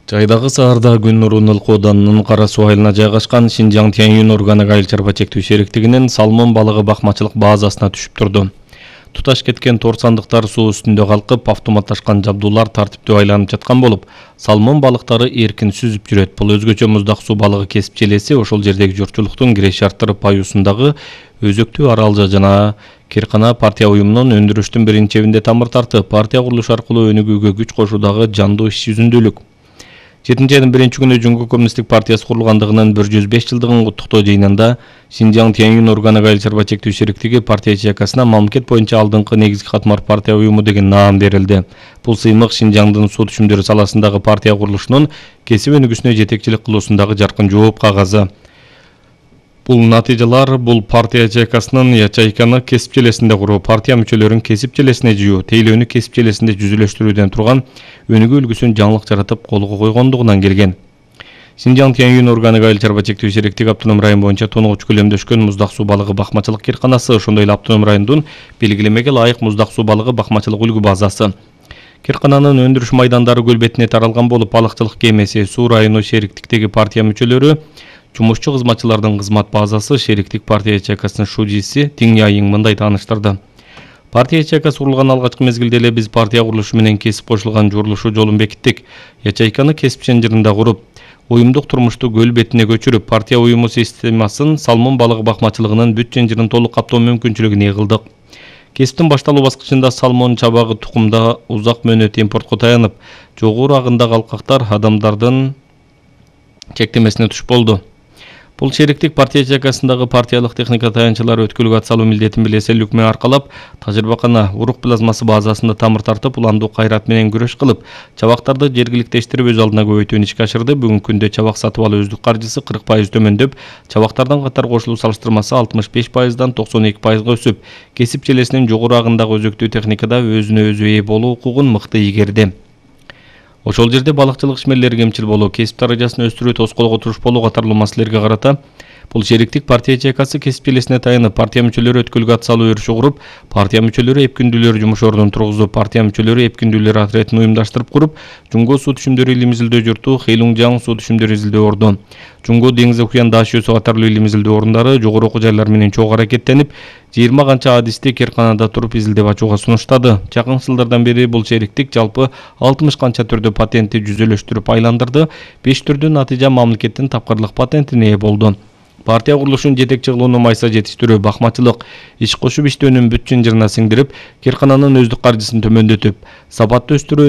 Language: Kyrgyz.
Жайдагы шаарда Күн нурунун ылкуу оданынын Кара суу айылына жайгашкан Шинжаң Тянь-Юнь органик айыл чарба чектөө сериктигинин салмон балыгы бакмачылык базасына түшүп турду. Туташ кеткен тор сандыктар суу үстүндө калкып, автоматташкан жабдуулар тартиптүү айланып жаткан болуп, салмон балыктары эркин сүзүп жүрөт. Бул өзгөчө муздак суу балыгы кесип желеси ошол жердеги журтчулуктун кире шарттары паюусундагы өзөктүү Аралжа жана Керкана партия уюмунун өндүрүштүн биринчи тамыр тартып, партия курулушу аркылуу өнүгүүгө күч кошуудагы жандуу иш жүзүндүүлүк. 7-айдын 1-күнү Жумгу коммунисттик партиясы курулгандыгынын 105 жылдыгын куттуктоо жыйынында Шинжаң Тянь-Юнь органик айыл чарба чектөө сериктиги партия ячейкасына мамлекет боюнча алдыңкы негизги катмар партия уюму деген наам берилди. Бул сыймык Шинжаңдын суу түшүмдөрү саласындагы партия курулушунун кесип өнүгүүсүнө жетекчилик кылуусундагы жаркын жооп кагазы. Бул натыйжалар бул партия ячейкасынын ячейканы кесип желесинде куруу, партия мүчөлөрүн кесип желесине жыйуу, тейлөөнү кесип желесинде жүзүлөштүрүүдөн турган өнүгүү үлгүсүн жаңылык жаратып колго койгондугунан келген. Шинжаң Тянь-Юнь органик айыл чарба чектөө сериктиги автоном район боюнча тоногуч көлөмдөшкөн муздак суу балыгы бакмачылык кирканасы, ошондой эле автоном райондун белгилемеге ылайык муздак суу балыгы бакмачылык үлгү базасы. Киркананын өндүрүш майдандары көл бетине таралган болуп, балыкчылык кемеси, суу району шериктиктеги партия мүчөлөрү, жумушчу кызматчылардын кызмат базасы, шериктик партия ячейкасынын шужиси Тиң Яйың мындай тааныштырды. Партия ячейкасы курулган алгачкы мезгилде эле биз партия курулушу менен кесип кошулган журулушу жолун бекиттик. Ячейканы кесип ченжиринде куруп, уюмдук турмушту көл бетине көчүрүп, партия уюму системасын салмон балыгы бакмачылыгынын бүт ченжирин толук каптоо мүмкүнчүлүгүнө кылдык. Кесиптин башталуу баскычында салмон чабагы тукумда узак мөөнөт импортко таянып, жогору агындагы алкактар адамдардын чектемесине туш болду. Бул шериктик партия ячейкасындагы партиялык техника таянчылары өткөлгө ат салуу милдетин билеселүүлүк менен аркалап, тажрыйбакана урук плазмасы базасында тамыр тартып, уландуу кайрат менен күрөш кылып, чабактарды жергиликтештирип өз алдына көбөйтүүнү ишке ашырды. Бүгүнкү күндө чабак сатып алуу өздүк каржысы 40% төмөндөп, чабактардын катар кошулуу салыштырмасы 65%дан 92%га өсүп, кесип желесинин жогору агындагы өзөктүү техникада өзүнө өзү ээ болуу укугун мыкты ийгерди. Ошол жерде балыкчылык ишмерлери кемчил болуу, кесип даражасын өстүрүү, тоскоолго туруш болуу катарлуу маселелерге карата бул шериктик партия ячейкасы кесип желесине таянып, партия мүчөлөрү өткөлгө ат салуу өрүшү куруп, партия мүчөлөрү эпкүндүүлөр жумуш ордун тургузуп, партия мүчөлөрү эпкүндүүлөр отрядын уюмдаштырып куруп, Жумго суу түшүмдөрү илим изилдөө журту, Хэйлунжаң суу түшүмдөрү изилдөө орду, Жумго деңиз окуян даш өсү катарлуу илим изилдөө орундары жогору окуу жайлар менен чогуу аракеттенип, 20 канча адисти Керканада туруп изилдеп ачууга сунуштады. Жакын жылдардан бери бул шериктик жалпы 60 канча түрдө патентти жүзөлөштүрүп айландырды, 5 түрдүү натыйжа мамлекеттин тапкырлык патентине ээ болду. Партия курулушунун жетекчи кылууну майса жетиштирүү, бакмачылык, иш кошуп иштөөнүн бүт чынжырына сиңдирип, Керкананын өздүк каржысын төмөндөтүп, сапаттуу өстүрүү